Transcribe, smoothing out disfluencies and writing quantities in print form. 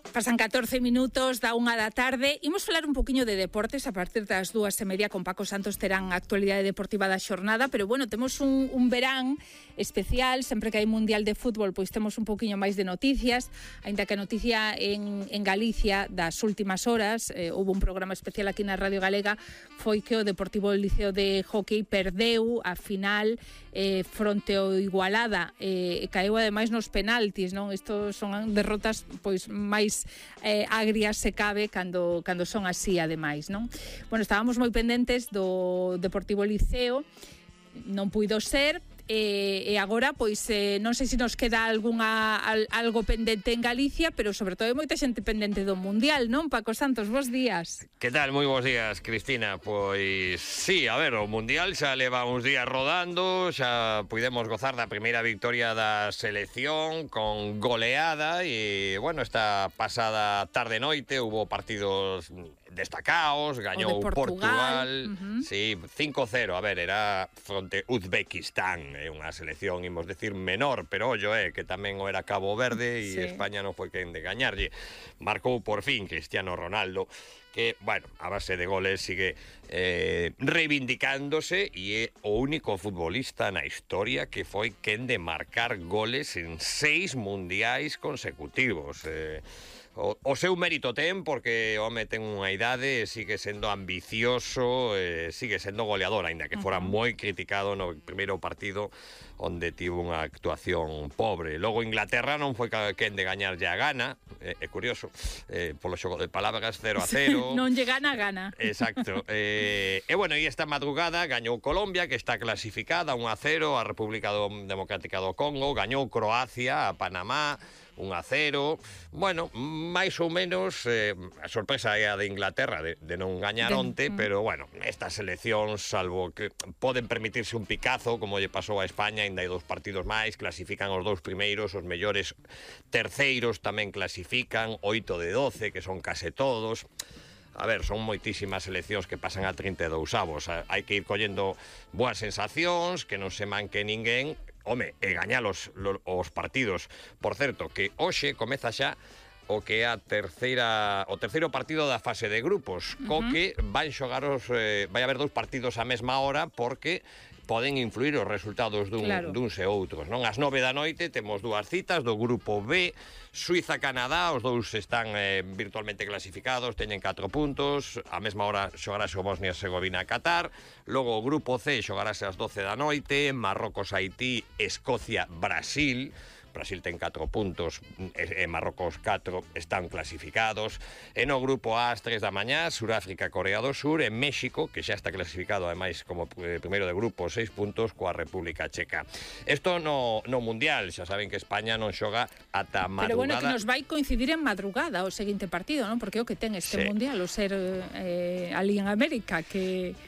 Pasan 14 minutos da 1 da tarde. Imos falar un poquinho de deportes a partir das 2:30 con Paco Santos terán a actualidade deportiva da xornada, pero bueno, temos un verán especial, sempre que hai Mundial de Fútbol, pois temos un poquinho máis de noticias, aínda que a noticia en Galicia das últimas horas, houve un programa especial aquí na Radio Galega, foi que o Deportivo Liceo de Hockey perdeu a final fronte ao Igualada, caeu ademais nos penaltis, non? Isto son derrotas pois máis agrias se cabe cando son así ademais, non? Bueno, estábamos moi pendentes do Deportivo Liceo, non puido ser, e agora pois non sei se nos queda algo pendente en Galicia, pero sobre todo hai moita xente pendente do Mundial, non? Paco Santos, bos días. Que tal? Moi bons días, Cristina. Pois sí, a ver, o Mundial xa leva uns días rodando, xa puidemos gozar da primeira victoria da selección con goleada e, bueno, esta pasada tarde-noite hubo partidos destacados, gañou Portugal, sí, 5-0, a ver, era fronte Uzbekistán, unha selección, imos decir, menor, pero ollo, que tamén o era Cabo Verde e sí. España non foi quen de gañarlle. Marcou por fin Cristiano Ronaldo, que, bueno, a base de goles sigue reivindicándose e é o único futbolista na historia que foi quen de marcar goles en 6 mundiais consecutivos. O seu mérito ten porque o home ten unha idade, sigue sendo ambicioso, sigue sendo goleador, aínda que fora moi criticado no primeiro partido onde tivo unha actuación pobre. Logo Inglaterra non foi quen de gañarlle a Ghana, é curioso, polo xogo de palabras 0-0. Non lle gana a Ghana. Exacto. E bueno, e esta madrugada gañou Colombia, que está clasificada 1-0, a República Democrática do Congo, gañou Croacia a Panamá 1-0. Bueno, máis ou menos a sorpresa é a de Inglaterra de non gañar onte, pero bueno, estas seleccións, salvo que poden permitirse un picazo como lle pasou a España, ainda hai 2 partidos máis, clasifican os 2 primeiros, os mellores terceiros tamén clasifican, 8 de 12, que son case todos. A ver, son moitísimas seleccións que pasan a 32 avos. Hai que ir collendo boas sensacións, que non se manque ninguén, home, e gañar os partidos. Por certo, que hoxe comeza xa o que é o terceiro partido da fase de grupos, co que vai haber 2 partidos á mesma hora, porque poden influir os resultados duns e outros, non? Ás 9 da noite temos 2 citas do grupo B, Suiza-Canadá, os 2 están virtualmente clasificados, teñen 4 puntos, á mesma hora xogarase o Bosnia-Herzegovina-Qatar, logo o grupo C xogarase ás 12 da noite, Marrocos-Haití, Escocia-Brasil. Brasil ten 4 puntos e Marrocos 4 están clasificados. E no grupo A ás 3 da mañá, Suráfrica, Corea do Sur, e México, que xa está clasificado ademais como primeiro de grupo, 6 puntos coa República Checa. Isto no Mundial, xa saben que España non xoga ata madrugada. Pero bueno, que nos vai coincidir en madrugada o seguinte partido, non? Porque é o que ten este Mundial, o ser ali en América, que